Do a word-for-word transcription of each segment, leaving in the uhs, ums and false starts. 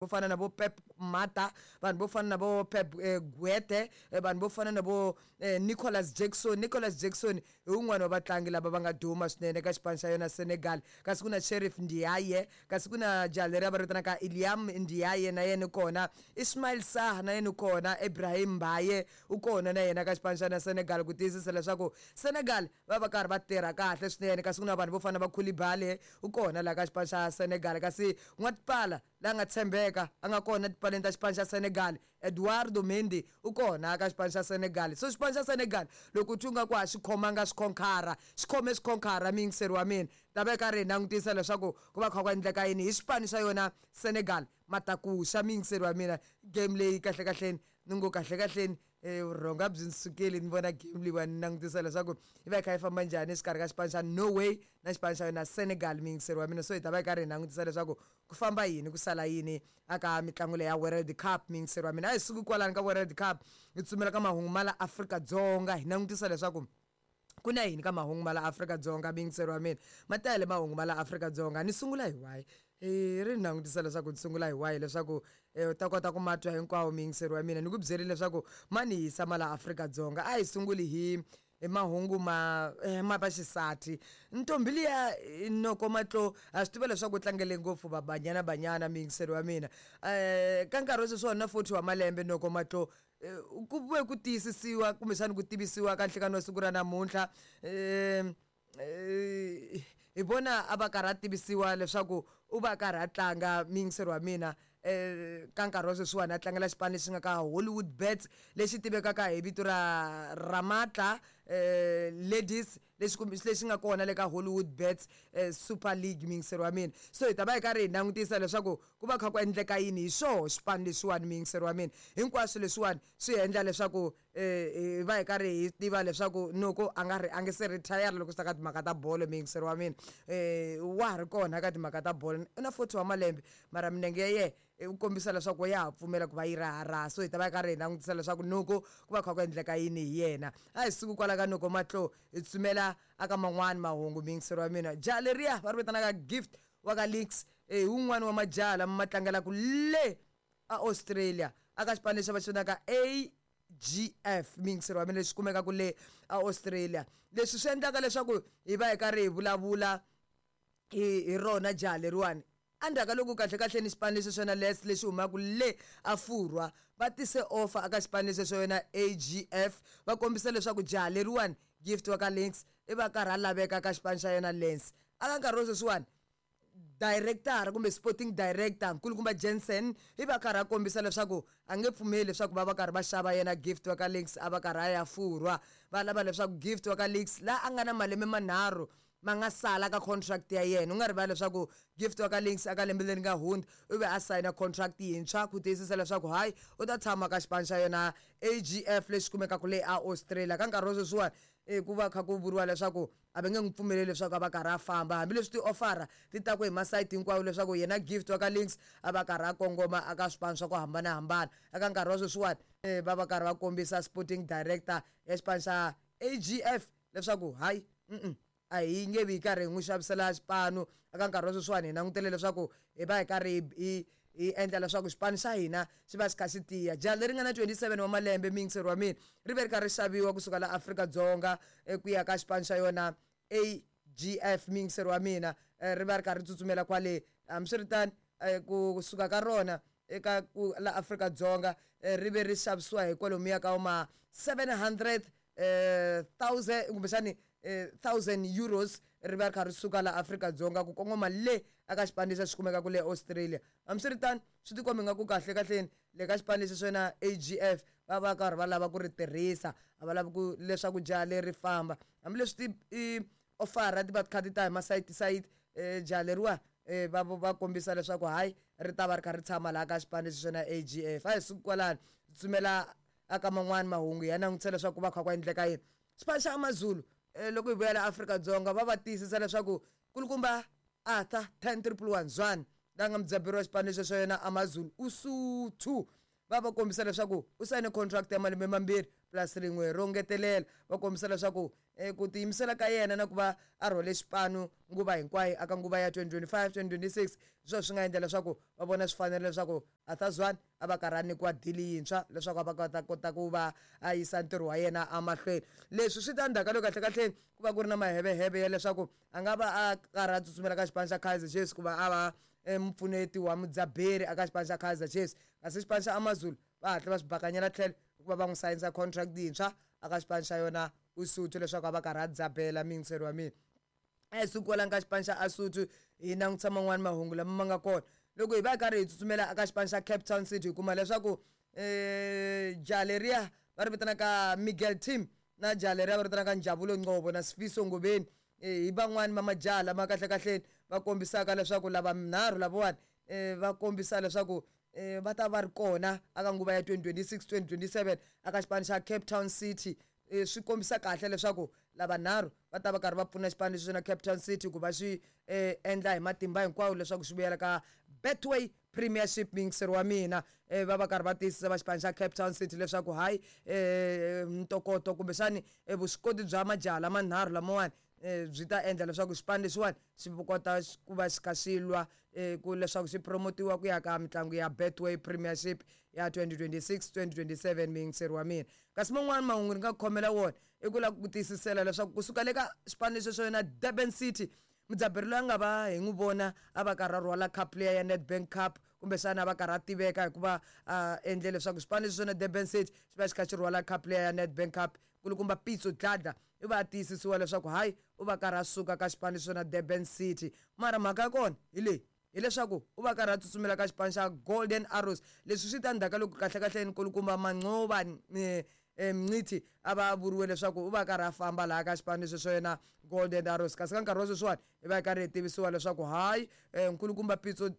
Vo fana na vo Pep Mata, vanhu vo fana na vo Pep eh, Guete, eh, vanhu vo fana na vo eh, Nicholas Jackson. Nicholas Jackson hi wun'wana wa vatlangi lava va nga duma swinene ka xipano xa yona Senegal. Kasi ku na Sheriff Ndiaye, kasi ku na jaha leri va ri vitanaka Iliam Ndiaye, na yena kona Ismail Sarr, na yena kona Ibrahim Mbaye u kona na yena ka xipano xa yona Senegal, ku tiyisisa leswaku Senegal va va karhi va tirha kahle swinene. Kasi ku na vanhu vo fana na va Koulibaly, u kona laha ka xipano xa Senegal. Kasi n'watipala la nga tshembeka a nga kona tipaleni ta xipano xa Senegal, Eduardo Mendy, u kona ka xipano xa Senegal. So xipano xa Senegal loko u twi nga ku a xi khomanga swikhonkhara, xi khome swikhonkhara, miyingiseri wa mina. Ta va karhi hi langutisa leswaku ku va kha ku endleka yini hi xipano xa yona Senegal matakuxa, miyingiseri wa mina. Game leyi kahle kahleni ni ngo kahle kahleni eh, vurhonga byi ni sukeli ni vona game leyiwani, ni langutisa leswaku yi va yi kha yi famba njhani exikarhi ka xipano xa Norway na xipano xa yona Senegal, miyingiseri wa mina. So hi ta va yi karhi hi langutisa leswaku ku famba yini, ku sala yini aka mitlangu leyi ya World Cup, miyingiseri wa mina. A hi suki kwalani ka World Cup, hi tsumela ka mahungu ma la Afrika-Dzonga, hi langutisa leswaku ku na yini ka mahungu ma la Afrika-Dzonga, miyingiseri wa mina. Ma tele mahungu ma la Afrika-Dzonga. Ni sungula hi wahi? I ri ni langutisa leswaku ni sungula hi wahi leswaku u ta kota ku ma twa hinkwawo, miyingiseri wa mina. Ni ku byerile leswaku ma ni hisa ma la Afrika-Dzonga. A hi sunguli hi hi mahungu ma ma vaxisati. Ntombi liya Noko Matlo, ha swi tiva leswaku u tlangele ngopfu va Banyana Banyana, miyingiseri wa mina. um ka nkarhi wa sweswiwani na forty wa malembe Noko Matlo. Ku ve ku tiyisisiwa kumbexani ku tivisiwa ka nhlekani wa siku ra namuntlha, um hi vona a va karhi a tivisiwa leswaku u va karhi a tlanga, miyingiseri wa mina. um ka nkarhi wa sweswiwani a tlangela xipano lexi nga ka Hollywood Bets, lexi tivekaka hi vito ra Ramatla um Ladies, lexi lexi nga kona le ka Hollywood Bets Super League, miyingiseri wa mina. So hi ta va hi karhi hi langutisa leswaku ku va kha ku endleka yini hi swoho xipano lexiwani, miyingiseri wa mina. Hinkwaswo leswiwani swi endla leswaku hi va hi karhi hi tiva leswaku Noko a nga ri a nge se retire loko swi ta ka timhaka ta bolo, miyingiseri wa mina. um wa ha ri kona ka timhaka ta bolo, u na forty wa malembe, mara minenge ya yena u kombisa leswaku ya ha pfumela ku va yi raharaha. So hi ta va hi karhi hi langutisa leswaku Noko ku va kha ku endleka yini hi yena. A hi suki kwala ka Noko Matlo, hi tsumela aka man'wani mahungu, miyingiseri wa mina. Jaha leriya va ri vitanaka Gift wa ka Links, hi wun'wani wa majaha lama ma tlangelaka le a Australia aka xipano lexi va xi vitanaka A G F, miyingiseri wa mina, lexi kumekaka le a Australia. Leswi swi endlaka leswaku hi va hi karhi hi vulavula hi hi rona jaha leriwani, endzhaku ka loko kahle kahle ni xipano lexi xona Les lexi humaka le a Furwa va tise offer aka xipano lexi xo yona A G F, va kombisa leswaku jaha leriwani Gift wa ka Links i va karhi a laveka ka xipano xa yona Lens. Aka nkarhi wa sweswiwani director kumbe sporting director nkulukumba Jensen i va karhi a kombisa leswaku a nge pfumeli leswaku va va karhi va xava yena Gift wa ka Links a va karhi a ya Furwa. Va lava leswaku Gift wa ka Links la a nga na malembe manharhu ma nga sala ka contract ya yena. U nga rivali leswaku Gift wa ka Links aka lembe leri nga hundza u ve a sayina contract yintshwa ku tiyisisa leswaku hayi u ta tshama ka xipano xa yona A G F lexi kumekaka le a Australia. Ka nkarhi wa sweswiwani ku va kha ku vuriwa leswaku a va nge n'wi pfumeleli leswaku a va karhi a famba, hambileswi ti-offer ti ta ku hi masayiti hinkwawo leswaku yena Gift wa ka Links a va karhi a kongoma aka swipano swa ku hambanahambana. Eka nkarhi wa sweswiwani va va karhi va kombisa sporting director ya xipano xa A G F leswaku hayi mm a hi nge vi hi karhi hi n'wi xavisela xipano. Eka nkarhi wa sweswiwani hi langutele leswaku hi va hi karhi hi hi endla leswaku xipano xa hina xi va xi kha xi tiya. Jaha leri nga na twenty-seven wa malembe, miyingiseri wa mina, ri ve ri karhi ri xaviwa kusuka la Afrika-Dzonga ku ya ka xipano xa yona A G F, miyingiseri wa mina. Ri va ri karhi ri tsutsumela kwale. Hambiswiritano kusuka ka rona eka ku la Afrika-Dzonga ri ve ri xavisiwa hi kwalomuya ka ma seven hundred thousand kumbexani thousand euros, ri va ri kha ri suka la Afrika-Dzonga ku kongoma le aka xipano lexi xi kumekaka le Australia. Hambiswiritano swi tikomba ingaku kahle kahleni le ka xipano lexi xona A G F va va karhi va lava ku ri tirhisa, a va lavi ku leswaku jaha leri famba, hambileswi ti offer ti va ti kha ti ta hi masayiti sayiti. Jaha leriwa va va kombisa leswaku hayi ri ta va ri kha ri tshama laha ka xipano lexi xona A G F. A hi suki kwalano, tsumela aka man'wani mahungu ya langutisa leswaku ku va kha ku endleka yini. Xipano xa AmaZulu loko hi vuya la Afrika-Dzonga va va tiyisisa leswaku kulukumba Arthur ten triple one Zwane la nga mudzaberi wa xipano lexi xa yona AmaZulu Usuthu Va va kombisa leswaku u sayine contract ya malembe mambirhi plus rin'we ro ngetelela. Va kombisa leswaku eh, ku tiyimisela ka yena na ku va a rhwale xipano nguva hinkwayo aka nguva ya twenty twenty-five twenty twenty-six, hi swona swi nga endla leswaku va vona swi fanerile leswaku Arthur Zwane a va karhi a nyikiwa dili yintshwa leswaku a va kota kota ku va a yisa ntirho wa yena emahlweni. Leswi swi ta ndzhaku ka loko kahlekahle ku va ku ri na maheveheve ya leswaku a nga va a karhi a tsutsumela ka xipano xa Kaizer Chiefs ku va a va mupfuneti wa mudzaberi aka xipano xa Kaizer Chiefs, kasi xipano xa AmaZulu va hatla va swi bakanyela tlhelo hikuva va n'wi sayinisa contract yintshwa aka xipano xa yona Usuthu leswaku a va karhi a dzabela miyingiseri wa mina. A hi suki kwalano ka xipano xa Asuthu hi langutisa man'wani mahungu lama ma nga kona. Loko hi va hi karhi hi tsutsumela aka xipano xa Cape Town City, hi kuma leswaku um jaha leriya va ri vitanaka Miguel Tim na jaha leriya va ri vitanaka Njabulo Ngcobo na Sifiso Ngobeni hi van'wani va majaha lama kahlekahleni va kombisaka leswaku lava minharhu lavawani um va kombisa leswaku um va ta va ri kona aka nguva ya twenty twenty-six twenty twenty-seven aka xipano xa Cape Town City. E swi kombisa kahle leswaku lavanharhu va ta va karhi va pfuna xipano lexi na Cape Town City ku va xi eh, endla hi matimba hinkwawo leswaku xi vuyela ka Betway Premiership. Miyingiseri wa mina, eh, va va karhi va tiyisisa va xipano xa Cape Town City leswaku hayi eh, ntokoto kumbexani eh, vuswikoti bya majaha lamanharhu lamawani eh, byi ta endla leswaku xipano lexiwani xi kota ku va xi kha xi lwa eh, ku leswaku xi promotiwa ku ya ka mitlangu ya Betway Premiership ya twenty twenty-six twenty twenty-seven. Miyingiseri wa mina, kasi man'wani mahungu ni nga ku khomela wona i ku lava ku tiyisisela leswaku kusuka le ka xipano lexi xo yona Durban City, mudzaberi loyi a nga va hi n'wi vona a va karhi a rhwala cup leya ya Nedbank Cup, kumbexana a va karhi a tiveka hikuva a endle leswaku xipano lexi xona Durban City xi va xi kha xi rhwala cup leya ya Nedbank Cup, kulukumba Pitso Dladla i va a tiyisisiwa leswaku hayi u va karhi a suka ka xipano lexi xona Durban City. Mara mhaka ya kona hi leyi, hileswaku u va karhi a tsutsumela ka xipano xa Golden Arrows. Leswi swi ta ndzhaku ka loko kahlekahle nkulukumba Manqoba Mngqithi a va vuriwe leswaku u va karhi a famba laha ka xipano lexi xo yena Golden Arrows, kasi ka nkarhi wa sweswiwani hi va hi karhi hi tivisiwa leswaku hayi nkulukumba Pitso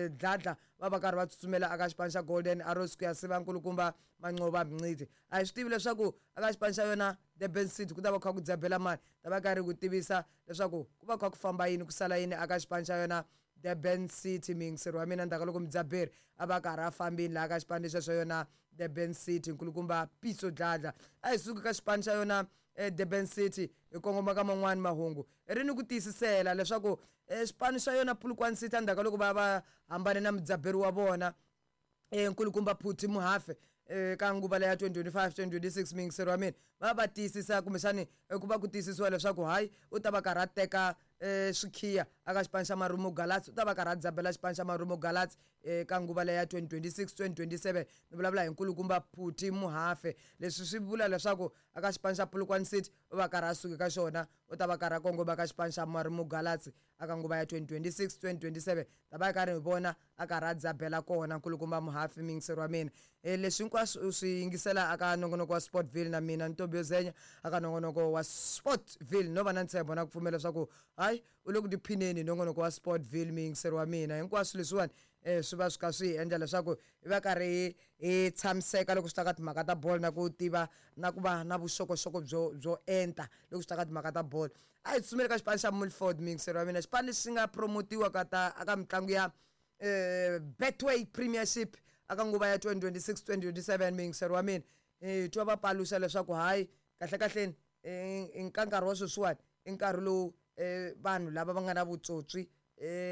Dladla va va karhi va tsutsumela aka xipano xa Golden Arrows ku ya siva nkulukumba Manqoba Mngqithi. A hi swi tivi leswaku aka xipano xa yona Durban City ku ta va kha ku dzabela mani, ta va karhi ku tivisa leswaku ku va kha ku famba yini ku sala yini aka xipano xa yona Durban City. Miyingiseri wa mina, ndzhaku ka loko mudzaberi a va karhi a fambini laha ka xipano lexi xa yona Durban City, nkulukumba Pitso Dladla. A hi suki ka xipano xa yona Durban City hi kongoma ka man'wani mahungu, ri ni ku tiyisisela leswaku xipano xa yona Polokwane City endzhaku ka loko va va hambane na mudzaberi wa vona nkulukumba Phuthi Muhafe ka nguva leya twenty twenty-five twenty twenty-six, miyingiseri wa mina va va tiyisisa kumbexani ku va ku tiyisisiwa leswaku hayi u ta va karhi a teka swikhiya aka xipano xa Marumo Gallants, u ta va karhi a dzabela xipano xa Marumo Gallants ka nguva leya twenty twenty-six twenty twenty-seven. Ni vulavula hi nkulukumba Phuthi Muhafe. Leswi swi vula leswaku aka xipano xa Polokwane City u va karhi a suka ka xona, u ta va karhi a kongoma ka xipano xa Marumo Gallants aka nguva ya twenty twenty-six twenty twenty-seven. Ta va karhi hi vona a karhi a dzabela kona nkulukumba Muhafe. Miyingiseri wa mina, leswi hinkwaswo u swi yingisela aka nongonoko wa Sportville na mina Ntombi Yozenya aka nongonoko wa Sportville. No va na ntshembo na ku pfumela leswaku hayi u le ku tiphineni hi nongonoko wa Sportville. Miyingiseri wa mina, hinkwaswo leswiwani eh swi va swi kha swi endla leswaku hi va karhi hi tshamiseka loko swi ta ka timhaka ta bolo na ku tiva na ku va na vuxokoxoko byo byo enta loko swi ta ka timhaka ta bolo. A hi tsutsumeli ka xipano xa Milford. Miyingiseri wa mina, xipano lexi nga promotiwa ka ta aka mitlangu ya eh Betway Premiership aka nguva ya twenty twenty-six twenty twenty-seven. Miyingiseri wa mina, hi twa va paluxa leswaku hayi kahlekahleni ka nkarhi wa sweswiwani i nkarhi lowu vanhu lava va nga na vutsotsi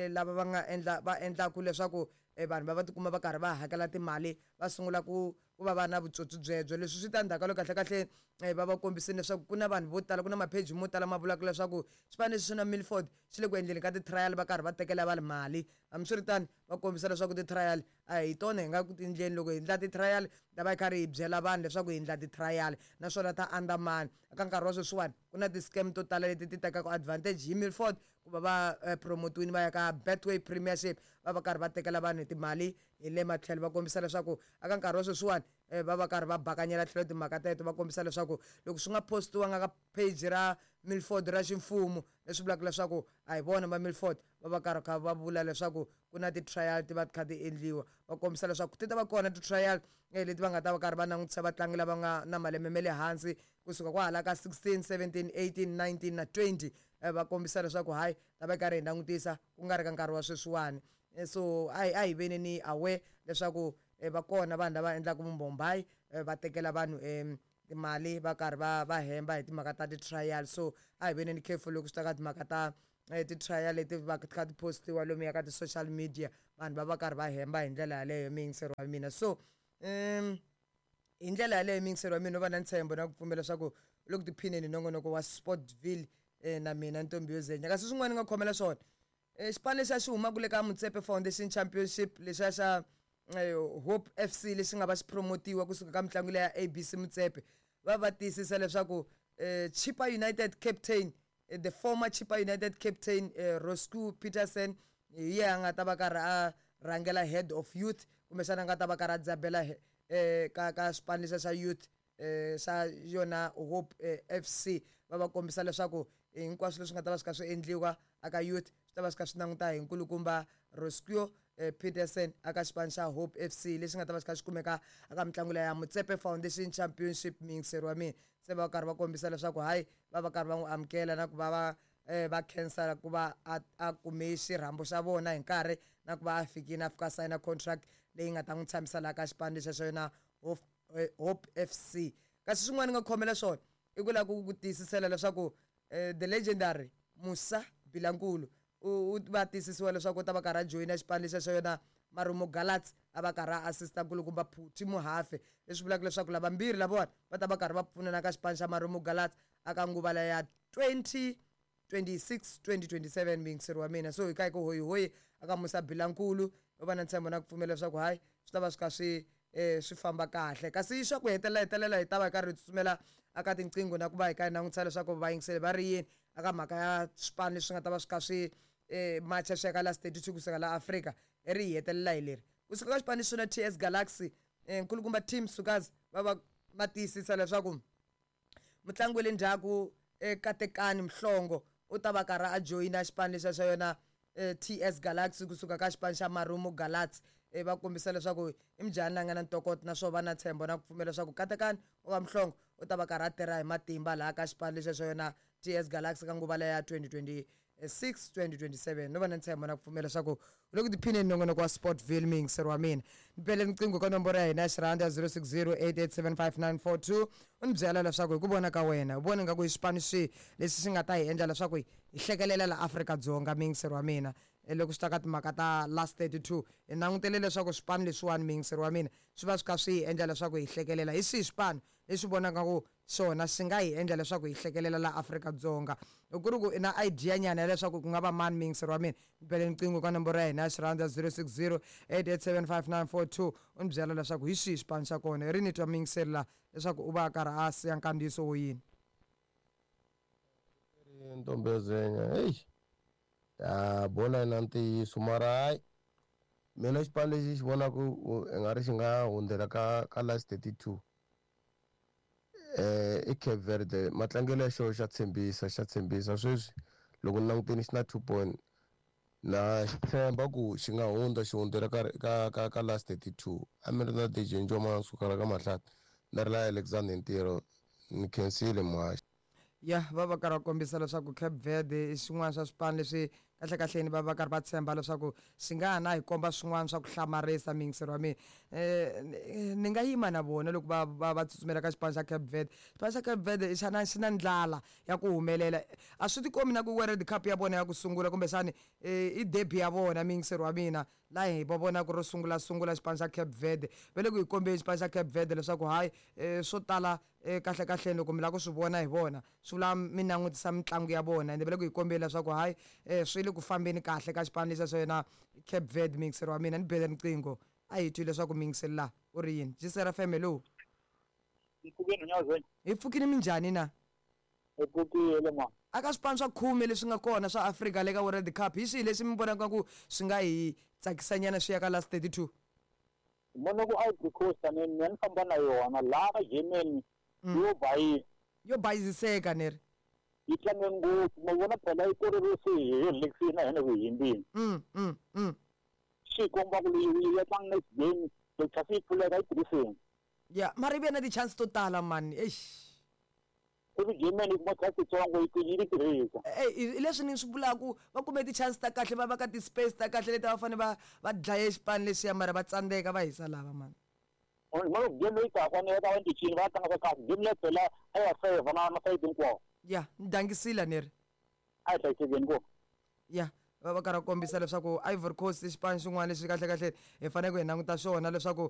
lava va nga endla va endlaku leswaku vanhu va va tikuma va karhi va hakela timali va sungula ku ku va va na vutsotsi byebyo. Leswi swi ta ndzhaku ka loko kahlekahle va va kombisile leswaku ku na vanhu vo tala, ku na mapheji mo tala ma vulaka leswaku xipano lexi na Milford xi le ku endleni ka ti-trial va karhi va tekela vanhu mali. Hambiswiritano va kombisa leswaku ti-trial a hi tona hi nga ku tindleni, loko hi endla ti-trial ta va hi karhi hi byela vanhu leswaku hi endla ti-trial naswona ta andamani. Eka nkarhi wa sweswiwani ku na ti-scam to tala leti ti tekaka advantage hi Milford ku va va promotiwini va ya ka Betway Premiership, va va karhi va tekela vanhu timali hi le matlhelo. Va kombisa leswaku eka nkarhi wa sweswiwani va va karhi va bakanyela tlhelo timhaka teto, va kombisa leswaku loko swi nga postiwanga ka page ra Milford ra ximfumo, leswi vulaka leswaku a hi vona va Milford va va karhi kha va vula leswaku ku na ti-trial ti va ti kha ti endliwa. Va kombisa leswaku ti ta va kona ti-trial leti va nga ta va karhi va langutisa vatlangi lava nga na malembe ma le hansi kusuka kwahala ka sixteen seventeen eighteen nineteen na twenty. Va kombisa leswaku hayi ta va karhi hi langutisa ku nga ri ka nkarhi wa sweswiwani. So a hi a hi veni ni aware leswaku va kona vanhu lava endlaka vumbombayi va tekela vanhu timali va karhi va va hemba hi timhaka ta ti-trial. So a hi veneni careful loko swi ta ka timhaka ta ti-trial leti va kha ti postiwa lomuya ka ti-social media, vanhu va va karhi va hemba hi ndlela yaleyo, muyingiseri wa mina. So um hi ndlela yaleyo, muyingiseri wa mina, no va na ntshembo na ku pfumela leswaku u le ku tiphineni hi nongonoko wa Sportville na mina Ntombi yo Zenya. Kasi swin'wana ni nga khomela swona, xipano lexiya xi humaka le ka Motsepe Foundation Championship, lexiya xa Hope F C, lexi nga va xi promotiwa kusuka ka mitlangu leya A B C Motsepe, va va tiyisisa leswaku Chippa United captain, the former Chippa United captain Roscoe Peterson, hi yena a nga ta va karhi a rhangela head of youth, kumbexana a nga ta va karhi a dzabela ka ka xipano lexiya xa youth xa yona Hope F C. Va va kombisa leswaku hinkwaswo leswi nga ta va swi kha swi endliwa aka youth swi ta va swi kha swi languta hi nkulukumba Roscoe Peterson aka xipano xa Hope F C, lexi nga ta va xi kha xi kumeka aka mitlangu leya ya Motsepe Foundation Championship, muyingiseri wa mina. Se va karhi va kombisa leswaku hayi, va va karhi va n'wi amukela na ku va va va khensa ku va a a kume xirhambo xa vona hi nkarhi, na ku va a fikile a fika a sayina contract leyi nga ta n'wi tshamisa laha ka xipano lexa xa yona Hope F C. Kasi swin'wana ni nga khomela swona i ku lava ku ku tiyisisela leswaku the legendary Musa Bilankulu u va tiyisisiwa leswaku u ta va karhi a joyina xipano lexa xa yona Marumo Gallants, a va karhi a assista nkulukumba Phuthi Muhafe, leswi vulaka leswaku lavambirhi lavawani va ta va karhi va pfunana ka xipano xa Marumo Gallants aka nguva ya twenty twenty-six twenty twenty-seven, muyingiseri wa mina. So hi ka hi ku hoyihoyi aka Musa Bilankulu, u va na ntshembo na ku pfumela leswaku hayi, swi ta va swi kha swi um swi famba kahle. Kasi swa ku hetelela hetelela hi ta va hi karhi hi tsutsumela aka tinqingho na ku va hi ka hi langutisa leswaku vayingiseli va ri yini aka mhaka ya swipano leswi nga ta va swi kha swi um macha swi ya ka last thirty-two kusuka la Afrika. Hi ri hi hetelela hi leri kusuka ka xipano xo na T S Galaxy, um nkulukumba Tim Sukazi, va va va tiyisisa leswaku mutlangi wa le ndzhaku Katekani Mhlongo u ta va karhi a joyina xipano lexiya xa yona T S Galaxy kusuka ka xipano xa Marumo Gallants. Va kombisa leswaku i mujhani la nga na ntokoto, naswona va na ntshembo na ku pfumela leswaku Katekani wa Mhlongo u ta va karhi a tirha hi matimba laha ka xipano lexiya xa yona T S Galaxy ka nguva leya twenty twenty-six twenty twenty-seven. No va na ntshembo na ku pfumela leswaku u le ku tiphineni nongonoko wa Sportville, muyingiseri wa mina. Ni bele riqingho ka nomboro ya hina ya xirhanda zero six zero eight eight seven five nine four two, u ni byela leswaku hi ku vona ka wena u vona nga ku i xipano xihi lexi xi nga ta hi endla leswaku hi hlekelela la Afrika-Dzonga, muyingiseri wa mina, loko swi ta ka timhaka ta last thirty-two. Hi langutele leswaku swipano leswiwani, muyingiseri wa mina, swi va swi kha swi hi endla leswaku hi hlekelela. Hi swihi swipano leswi vonaka ku xona xi nga hi endla leswaku hi hlekelela la Afrika-Dzonga? Loko ku ri ku i na idea nyana ya leswaku ku nga va mani, muyingiseri wa mina, ni bele riqingho ka nomboro ya hina ya xirhandza zero six zero eight eight seven five nine four two, u ni byela leswaku hi xihi xipano xa kona. Hi ri ni twa muyingiseri la leswaku u va a karhi a siya nkandziyiso wo yini. Ntombezenya, heyi, ya bolo yi na ntiyiso, mara hayi, mina xipano lexi xi vonaka i nga ri xi nga hundzela ka ka last thirty-two eh i Cape Verde. Matlangelo ya xona xa tshembisa, xa tshembisa. Sweswi loko ni langutini xi na two point, na xi tshemba ku xi nga hundza, xi hundzela ka ka ka ka last thirty-two. A mi ri na D J Njomane sukela ka Mahlati na ri la Alexander ntirho, ni khensile muhaxi. Ya, va va karhi va kombisa leswaku Cape Verde i xin'wana swa swipano leswi kahlekahleni va va karhi va tshemba leswaku xi nga ha na hi komba swin'wana swa ku hlamarisa, muyingiseri wa mina. um ni nga yima na vona loko va va va tsutsumela ka xipano xa Cape Verde. Xipano xa Cape Verde xana xi na ndlala ya ku humelela. A swi tikomi na ku World Cup ya vona ya ku sungula, kumbexani i debut ya vona, muyingiseri wa mina, laha hi va vonaka ro sungula sungula xipano xa Cape Verde. Va le ku hi kombeni xipano xa Cape Verde leswaku hayi, um swo tala um kahle kahleni loko mi lava ku swi vona hi vona, swi vula mi langutisa mitlangu ya vona, ende va le ku hi kombeni leswaku hayi, um swi le ku fambeni kahle ka xipano lexiya xa yona Cape Verde, muyingiseri wa mina. Ni bele riqingho, a hi twi leswaku muyingiseri laha u ri yini. J C R F M, hello. Mpfukeni nyazweni. Hi pfukini, minjhani na? Hi pfukile ma. Aka swipano swa khume leswi nga kona swa Afrika le ka World Cup, hi swihi leswi mi vonaka ku swi nga hi tsakisanyana swi ya ka last thirty-two? Vona ku Ivory Coast ni mina ni famba na yona laha ka Germany yo bayisa. Yo bayiziseka ni ri. Yi tlange ngopfu, ma vona phela yi koreriwe se hi relaxini na hina ku himbini. mm mm mm Swi komba ku leyi ya tlanga next game loko chance yi pfuleka yi tirhiseni. Ya, mara yi ve na ti-chance to tala mani, eish. Ivi Germany yi kuma chance yitsongo yi yi yi tirhisa. Eh, hi leswi ni swi vulaku, va kume ti-chance ta kahle, va va ka ti-space ta kahle leti va fanele va va dlaye xipano lexiya, mara va tsandzeka, va hisa lava mani. Mara game leyi taka ni va ta va cincile, va tlanga kahle. Game leyi phela a ya favor na na side hinkwawo. Ya ni dangisile ni ri. A hi hlayisekeni ko. Ya, va va karhi va kombisa leswaku Ivory Coast i xipano xin'wana lexi kahle kahle hi fanele ku hi languta xona leswaku